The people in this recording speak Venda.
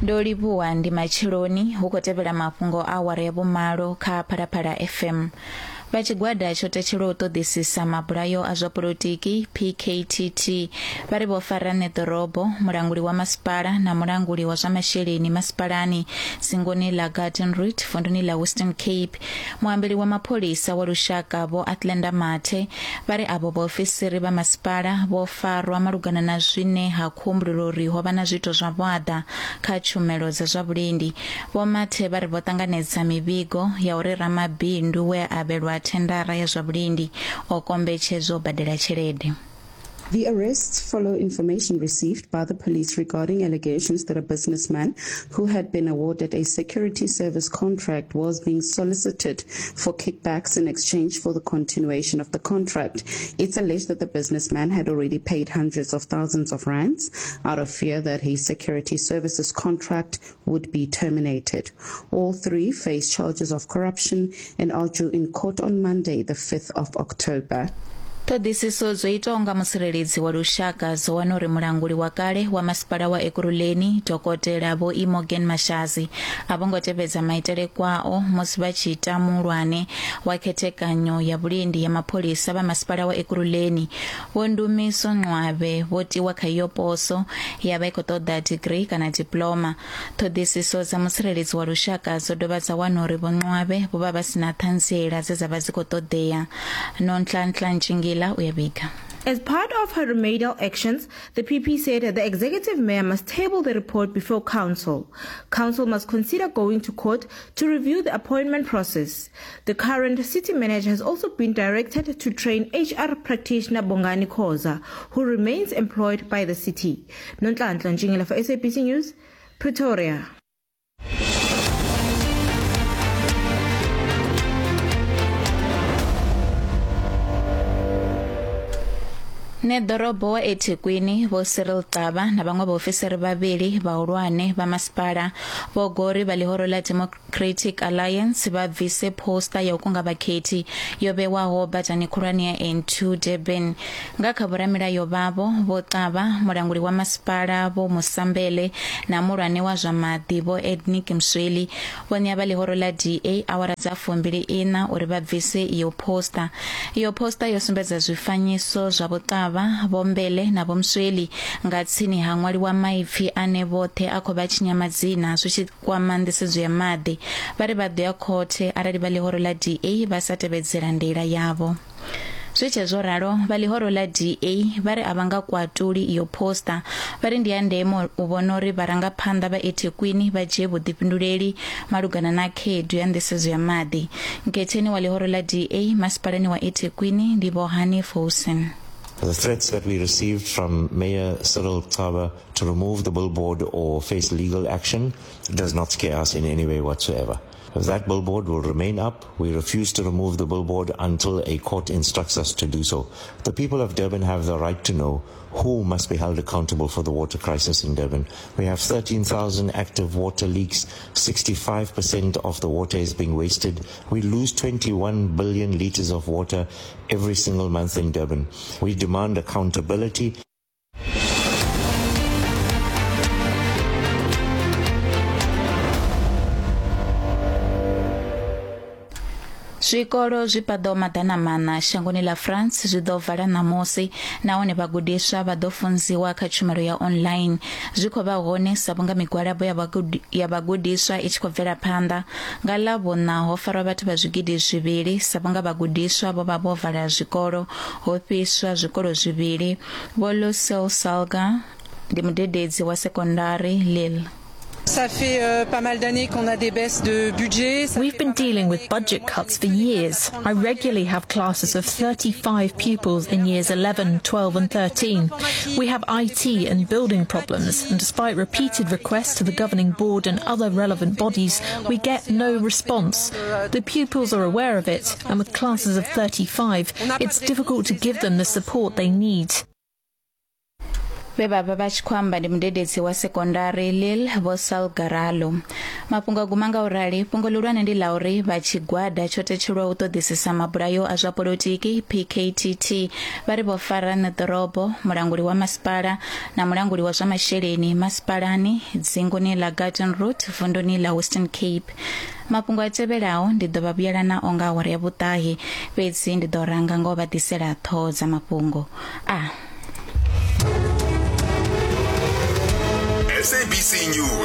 Ndo livhuwa ndi matsheloni hu khou tevhela mafhungo a awara ya vhumalo kha Phalaphala FM. Vha tshigwada tsho tetshelwaho u ṱoḓisisa mabulayo a zwa polotiki PKTT vha ri vho fara ṋeḓorobo, mulanguli wa masipala na mulanguli wa zwa masheleni masipalani dzingoni ḽa Garden Route vunduni ḽa Western Cape. Muambeli wa mapholisa wa lushaka Vho Athlenda Mathe vha ri avho vhaofisiri vha masipala vho farwa malugana na zwine ha khou humbulelwa uri ho vha na zwiito zwa vhuaḓa kha tshumelo dza zwa vhulindi. Vho Mathe vha ri vho ṱanganedza mivhigo ya uri ramabindu we a avhelwa thendara ya zwa vhulindi o kombetshedzwa u badela tshelede. The arrests follow information received by the police regarding allegations that a businessman who had been awarded a security service contract was being solicited for kickbacks in exchange for the continuation of the contract. It's alleged that the businessman had already paid hundreds of thousands of rands out of fear that his security services contract would be terminated. All three face charges of corruption and are due in court on Monday, the 5th of October. Ṱhoḓisiso dzo itwaho nga mutsireledzi wa lushaka dzo wana uri mulanguli wa kale wa masipala wa Ekurhuleni Dokotela Vho Imogen Mashazi a vho ngo tevhedza maitele kwao musi vha tshi ita muhulwane wa khethekanyo ya vhulindi ya mapholisa vha masipala wa Ekurhuleni Vho Ndumiso Nqwabe vho tiwa kha iyo poso ya vha i khou ṱoḓa digirii kana diploma. Ṱhoḓisiso dza mutsireledzi wa lushaka dzo dovha dza wana uri Vho Nqwabe vho vha vha si na ṱhanziela dze dza vha dzi khou ṱoḓea. Nonhlanhla Ntshingila u ya vhiga. As part of her remedial actions, the PP said the executive mayor must table the report before council. Council must consider going to court to review the appointment process. The current city manager has also been directed to train HR practitioner Bongani Khoza, who remains employed by the city. Nonhlanhla Ntshingila for SABC News, Pretoria. Ṋeḓorobo wa eThekwini Vho Cyril Xaba na vhaṅwe vhaofisiri vhavhili vhahulwane vha masipala vho gori vha ḽihoro ḽa Democratic Alliance vha bvise poster ya u kunga vhakhethi yo vhewaho badani khulwane ya N2 Durban. Nga kha vhoramilayo vhavho Vho Xaba, mulanguli wa masipala Vho Musambele na muhulwane wa zwa maḓi Vho Ednick Msweli vho ṋea vha ḽihoro ḽa DA awara dza fumbili iṋa uri vha bvise iyo poster. Iyo poster yo sumbedza zwifanyiso zwa Vho Xaba, Vho Mbele na Vho Msweli nga tsini ha ṅwaliwa maipfi ane vhoṱhe a khou vha tshinya madzina zwi tshi kwama nḓisedzo ya maḓi. Vha ri vha ḓo ya khothe arali vha ḽihoro ḽa DA vha sa tevhedzela ndaela yavho. Zwi tshe zwo ralo, vha ḽihoro ḽa DA vha ri a vha nga kwatuli iyo poster. Vha ri ndi ya ndeme u vhona uri vharangaphanḓa vha eThekwini vha dzhie vhuḓifhinduleli malugana na khaedu ya nḓisedzo ya maḓi. Nkhetheni wa ḽihoro ḽa DA masipalani wa eThekwini ndi Vho Hanif Hoosen. The threats that we received from Mayor Cyril Xaba to remove the billboard or face legal action does not scare us in any way whatsoever. That billboard will remain up. We refuse to remove the billboard until a court instructs us to do so. The people of Durban have the right to know who must be held accountable for the water crisis in Durban. We have 13,000 active water leaks. 65% of the water is being wasted. We lose 21 billion liters of water every single month in Durban. We demand accountability. Zwikolo zwi paḓaho maḓana maṋa shangoni ḽa France zwi ḓo vala ṋamusi nahone vhagudiswa vha ḓo funziwa kha tshumelo ya online. Zwi khou vha hone sa vhunga migwalabo ya vhagudiswa i tshi khou bvela phanḓa. Nga Ḽavhuṋa ho farwa vhathu vha zwigidi zwivhili sa vhunga vhagudiswa vho vha vho vala zwikolo. Ho fhiswa zwikolo zwivhili. Vho Lucille Salga ndi mudededzi wa sekondari Lille. Ça fait euh, pas mal d'années qu'on a des baisses de budget. Ça We've been dealing with budget cuts for years. I regularly have classes of 35 pupils in years 11, 12 and 13. We have IT and building problems, and despite repeated requests to the governing board and other relevant bodies, we get no response. The pupils are aware of it, and with classes of 35, it's difficult to give them the support they need. Vhe vha vha vha tshi khou amba ndi mudededzi wa sekondari Lil Vho Salgaralo. Mafhungo a guma nga u rali, fhungo ḽihulwane ndi ḽa uri vha tshigwada tsho tetshelwaho u ṱoḓisisa mabulayo a zwa polotiki PKTT vha ri vho fara ṋeḓorobo, mulanguli wa masipala na mulanguli wa zwa masheleni masipalani dzinguni ḽa Garden Route vunduni ḽa Western Cape. Mafhungo a tevhelaho ndi ḓo vha vhuyela nao nga awara ya vhuṱahe, fhedzi ndi ḓo ranga nga u vha ḓisela ṱhoho dza mafhungo a. SABC News.